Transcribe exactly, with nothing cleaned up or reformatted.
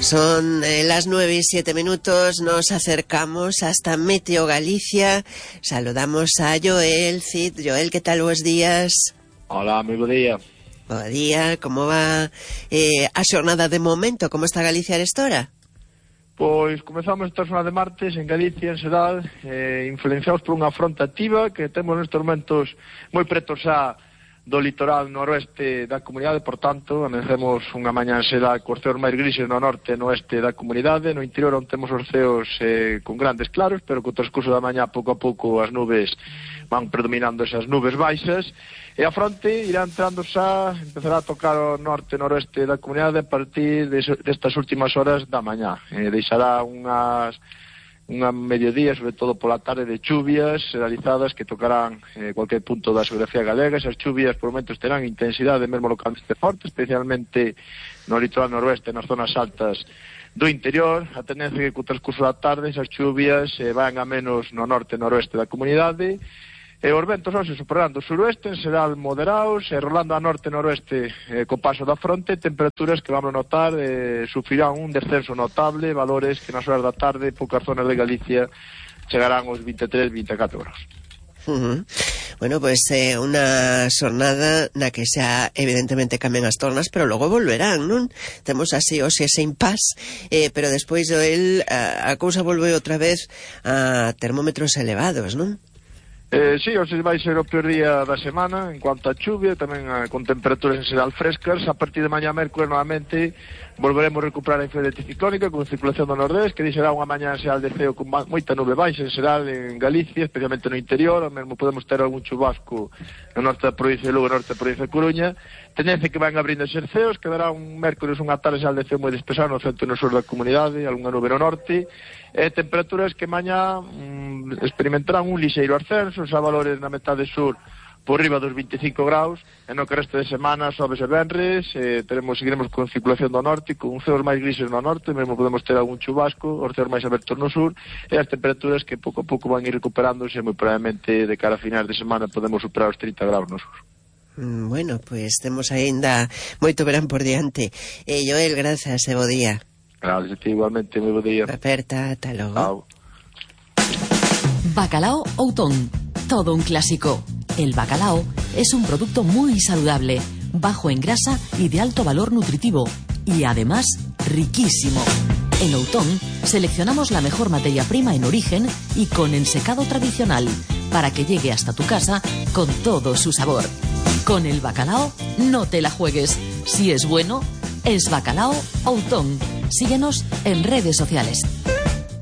Son eh, las nueve y siete minutos, nos acercamos hasta Meteo Galicia. Saludamos a Joel Cid. Joel, ¿qué tal? Buenos días. Hola, moi bo día. Bo día, como va eh, a xornada de momento? Como está Galicia a esta hora? Pois comezamos esta semana de martes en Galicia, en xeral, eh, influenciados por unha fronte activa que temos nestes momentos moi preto xa do litoral noroeste da comunidade, por tanto, amanecemos unha mañá será cos ceos máis grises no norte e no oeste da comunidade. No interior onde temos os ceos eh, con grandes claros, pero co transcurso da mañá pouco a pouco as nubes van predominando esas nubes baixas, e a fronte irá entrando xa, empezará a tocar o norte e noroeste da comunidade a partir destas últimas horas da mañá. Eh, deixará unhas unha mediodía, sobre todo pola tarde, de chuvias realizadas que tocarán eh, cualquier punto da xeografía galega. Esas chuvias por momentos terán intensidade mesmo localmente forte, especialmente no litoral noroeste, nas zonas altas do interior. A tendencia que co transcurso da tarde esas chuvias eh, van a menos no norte e noroeste da comunidade. E os ventos hoxe superando o suroeste, en xeral moderados, e rolando a norte e noroeste eh, co paso da fronte, temperaturas que vamos notar eh, sufrirán un descenso notable, valores que nas horas da tarde, poucas zonas de Galicia, chegarán aos vinte e tres, vinte e catro graus. Uh-huh. Bueno, pues eh, unha xornada na que xa evidentemente cambian as tornas, pero logo volverán, non? Temos así hoxe ese impas, eh, pero despois el, a, a cousa volve outra vez a termómetros elevados, non? Eh, sí, hoxe vai ser o peor día da semana en cuanto a chuvia, tamén a, con temperaturas en xeral frescas. A partir de mañá mércoles novamente volveremos a recuperar a influencia anticiclónica con circulación do nordés, que deixará unha mañá en xeral de ceo con moita nube baixa en xeral en Galicia, especialmente no interior. Ao mesmo podemos ter algún chubasco no norte da provincia de Lugo, no norte da provincia de Coruña. Tendencia que van abrindo os ceos, quedará un mércoles unha tarde xeral de ceo moi despexado no centro e no sur da comunidade, algunha nube no norte, e temperaturas que mañá mm, experimentarán un lixeiro ascenso, xa valores na metade sur por riba dos vinte e cinco graus, e no que resto de semana, sobes e venres, eh, teremos, seguiremos con circulación do norte, con ceos máis grises no norte, mesmo podemos ter algún chubasco, os ceos máis abertos no sur, e as temperaturas que pouco a pouco van ir recuperándose, moi probablemente de cara a finais de semana podemos superar os trinta graus no sur. Bueno, pues temos aínda moito verán por diante. Eh, Joel, grazas e bo día. Gracias, igualmente, moi bo día. Aperta, ata logo. Chao. Bacalao Outón, todo un clásico. El bacalao es un producto muy saludable, bajo en grasa y de alto valor nutritivo, y además riquísimo. En Outón seleccionamos la mejor materia prima en origen y con ensecado tradicional, para que llegue hasta tu casa con todo su sabor. Con el bacalao no te la juegues. Si es bueno, es Bacalao Outón. Síguenos en redes sociales.